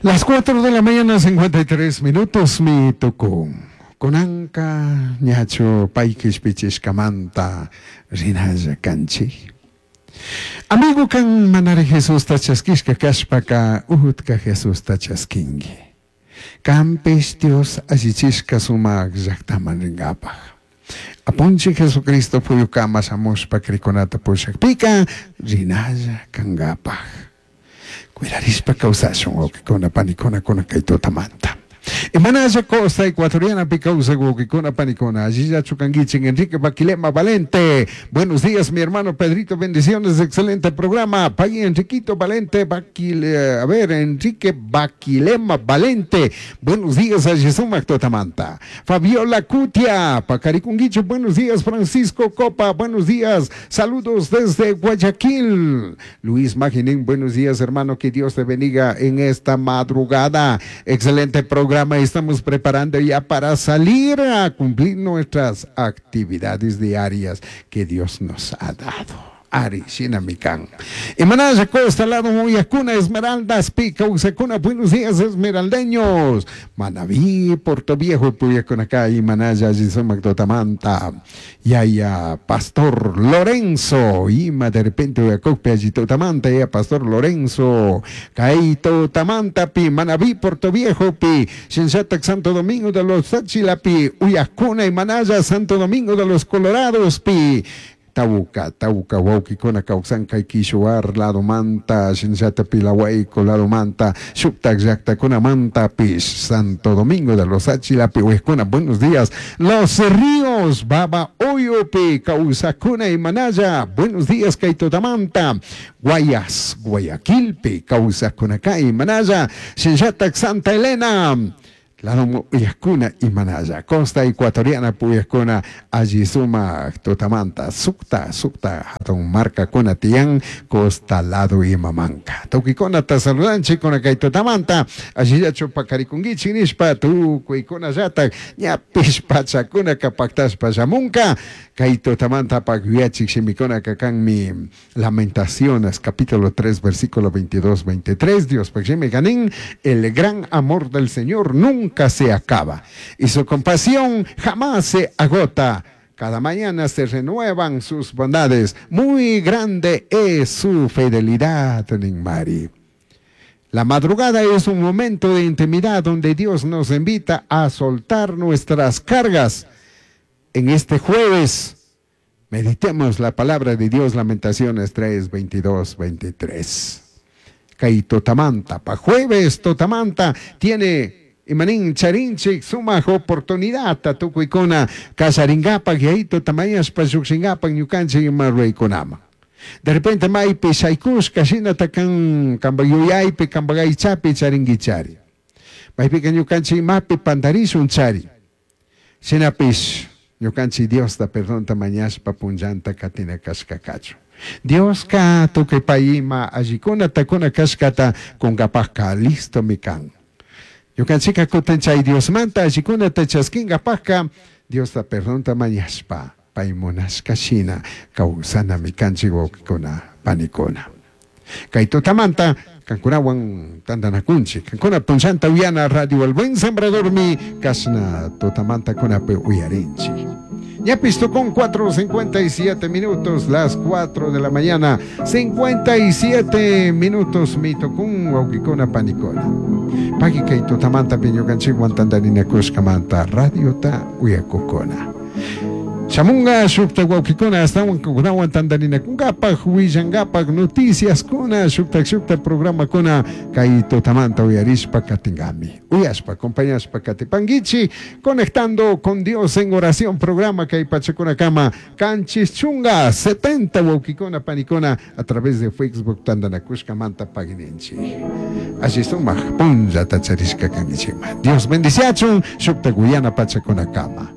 Las 4 de la mañana, 53 minutos, mi tucun. Kunanka ñachu pay kishpichishkamanta rinalla kanchik. Amigo kan manari Jesusta chaskishka kashpaka utka Jesusta chaskinki. Kanpish Dios allichishka sumak llaktaman rinkapak. Apunchik Jesucristo puyukama shamushpa krikunata pushakpika rinalla kankapak. Cuidarishpa kawsashun wawkikuna panikuna kunan kay tutamanta. Imanalla costa ecuatorianapi kawsak wawkikuna panikuna allillachu kankichik Enrique Baquilema Valente. Buenos días mi hermano Pedrito, bendiciones, excelente programa. Pay Enriquito Valente Baquil, a ver, Enrique Baquilema Valente. Buenos días alli sumak tutamanta. Fabiola Cutia, Pacarikunguicho, buenos días Francisco Copa, buenos días. Saludos desde Guayaquil. Luis Maginin, buenos días hermano, que Dios te bendiga en esta madrugada. Excelente programa, estamos preparando ya para salir a cumplir nuestras actividades diarias que Dios nos ha dado. Ari, shinami kan. Imanalla Costa, lado Uyacuna, Esmeraldas, Pica, Usacuna, buenos días, esmeraldeños. Manabí, Puerto Viejo, Puyacunacá, Imanalla, Sumak tutamanta. Yaya, Pastor Lorenzo, Ima, de repente, Uyacocpe, allí tutamanta, ya, Pastor Lorenzo, Kaito, Tamanta, Pi, Manabí, Puerto Viejo, Pi, Shinshatac, Santo Domingo de los Tsáchila, Pi, Uyacuna, Imanalla, Santo Domingo de los Colorados, Pi, Tauca, Tauca, wawkikuna kawsan kay Kishuar ladomanta, shinallata Pilawayco ladomanta, shuktak llaktakunamantapish, Santo Domingo de los Tsáchilapi, uyakuna, buenos días, Los Ríos, Baba Oyupi, kawsakuna Imanalla, buenos días, kay tutamanta, Guayas, Guayaquilpi, kawsakuna kay Imanalla, shinallata Santa Elena, Lado uyakuna Imanalla, Costa Ecuatoriana puyakuna alli sumak tutamanta, sukta, sukta, hatun markakuna tiyan, costa lado imamanka. Tukuykunata saludanchik kuna kay tutamanta, allillachu pakarikunkichik nishpa, tukuykunallatak ñapish pachakunaka paktashpa shamunka, kay tutamanta pak yuyachik shimikunaka kanmi Lamentaciones, capítulo 3, versículo 22, 23, Dios pak shimi kanin, el gran amor del Señor nunca se acaba y su compasión jamás se agota. Cada mañana se renuevan sus bondades. Muy grande es su fidelidad, Mari. La madrugada es un momento de intimidad donde Dios nos invita a soltar nuestras cargas. En este jueves, meditemos la palabra de Dios, Lamentaciones 3, 22, 23. Kay tutamanta, pa jueves tutamanta, tiene imanin charinchik sumak oportunidad tukuykuna kasaringapak yayito tamayashpa llukshingapak ñukanchik ima ruraykunaman. De repente maypi shaykushka shinata kan kanpak yuyaypi kanpak aychapi charinkichari. Maypika ñukanchik imapi pantarishun chari. Shinapish ñukanchik Diosta perdonta mañashpa punllanta katina kashka kachun. Dioska tukuy pay ima allikunata kuna kashkata kunkapakka listomi kan. Ñukanchika kutin chay Diosmanta allikunata chaskinkapakka Diosta perdonta mañashpa pay munashka shina kawsanami kanchik wawkikuna panikuna. Kay tutamanta kankunawan tantanakunchik. Kankuna punllanta uyana Radio El Buen Sembradormi kashna tutamanta kunapi uyarinchik. Ñapis con 4:57 minutos, las 4 de la mañana, 57 minutos, mi tocun wawkikuna panikuna. Paki kay tutamanta ñukanchikwan tantarinakushkamanta radiota uyakukuna. Shamunga shuktak wawkikuna astawan kunawan tantarinakunkapak willankapak noticiaskuna shuktak shuktak programakuna kay tutamanta uyarishpa katingami. Uyashpa, acompañashpa katipankichi, conectando con Dios en oración programa kay pachakunakama kanchis chunga 70 wawkikuna panikuna a través de Facebook tantanakushkamanta pagininchik. Alli sumak punllata charishka kankichikman. Dios bendiciachun shuktak uyana pachakunakama.